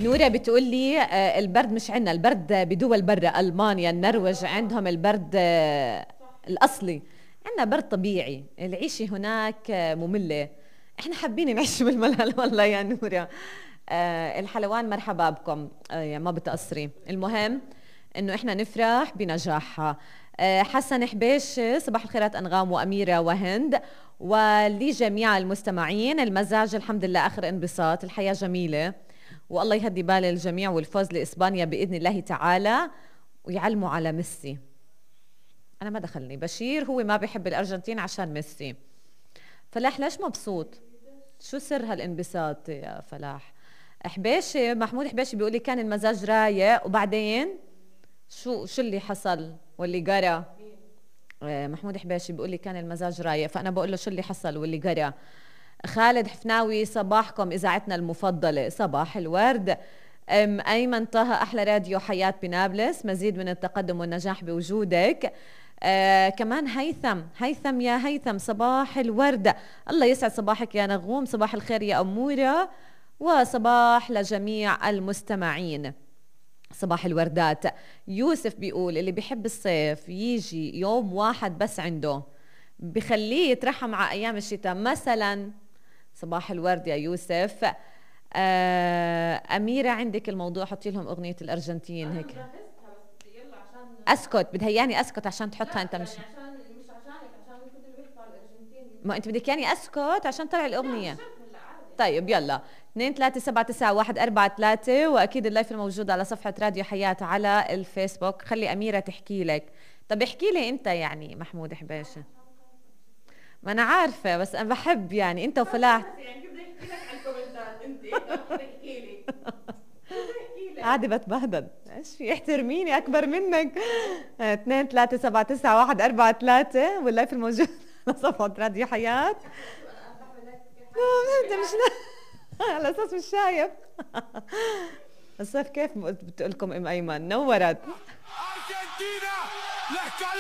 نورا بتقول لي البرد مش عنا، البرد بدول برا ألمانيا النرويج عندهم البرد الأصلي، عنا برد طبيعي. العيشة هناك مملة، احنا حابين نعيش بالملل والله يا نورا. الحلوان مرحبا بكم، يعني ما بتقصري. المهم انه احنا نفرح بنجاحها. حسن حبيش صباح الخيرات أنغام وأميرة وهند ولجميع المستمعين. المزاج الحمد لله آخر انبساط، الحياة جميلة والله يهدي بال الجميع، والفوز لإسبانيا بإذن الله تعالى، ويعلموا على ميسي. أنا ما دخلني بشير، هو ما بيحب الأرجنتين عشان ميسي. فلاح ليش مبسوط؟ شو سر هالانبساط يا فلاح؟ حبيشي محمود حبيشي بيقولي كان المزاج رايق وبعدين شو اللي حصل واللي قرا؟ محمود حبيشي بيقولي كان المزاج رايق، فأنا بقول له شو اللي حصل واللي قرا. خالد حفناوي صباحكم إذاعتنا المفضلة، صباح الورد. أيمن طه أحلى راديو حياة بنابلس، مزيد من التقدم والنجاح بوجودك. كمان هيثم يا هيثم صباح الورد، الله يسعد صباحك يا نغوم، صباح الخير يا أمورة، وصباح لجميع المستمعين، صباح الوردات. يوسف بيقول اللي بيحب الصيف يجي يوم واحد بس عنده بخليه يترحم على أيام الشتاء مثلا. صباح الورد يا يوسف. أميرة عندك الموضوع، حطي لهم أغنية الأرجنتين هيك. أسكت، بدها أسكت عشان تحطها أنت. مش عشانك، عشان كنت اللي بيحكوا على الأرجنتين. ما أنت بدك أسكت عشان طلع الأغنية. طيب يلا 2379143، وأكيد اللايف الموجود على صفحة راديو حياة على الفيسبوك. خلي أميرة تحكي لك. طب احكي لي أنت يعني محمود حبيشة. ما أنا عارفة بس أنا بحب يعني أنت وفلاح. يعني كيف بدي أحكي لك عن الكومنتات أنت احكي لي. قاعدة بتبهدل، ايش في؟ احترميني أكبر منك. 2379143 واللايف الموجود على صفحة راديو حياة. انت مش على اساس مش شايف. الصيف كيف بتقولكم ام ايمن نورت.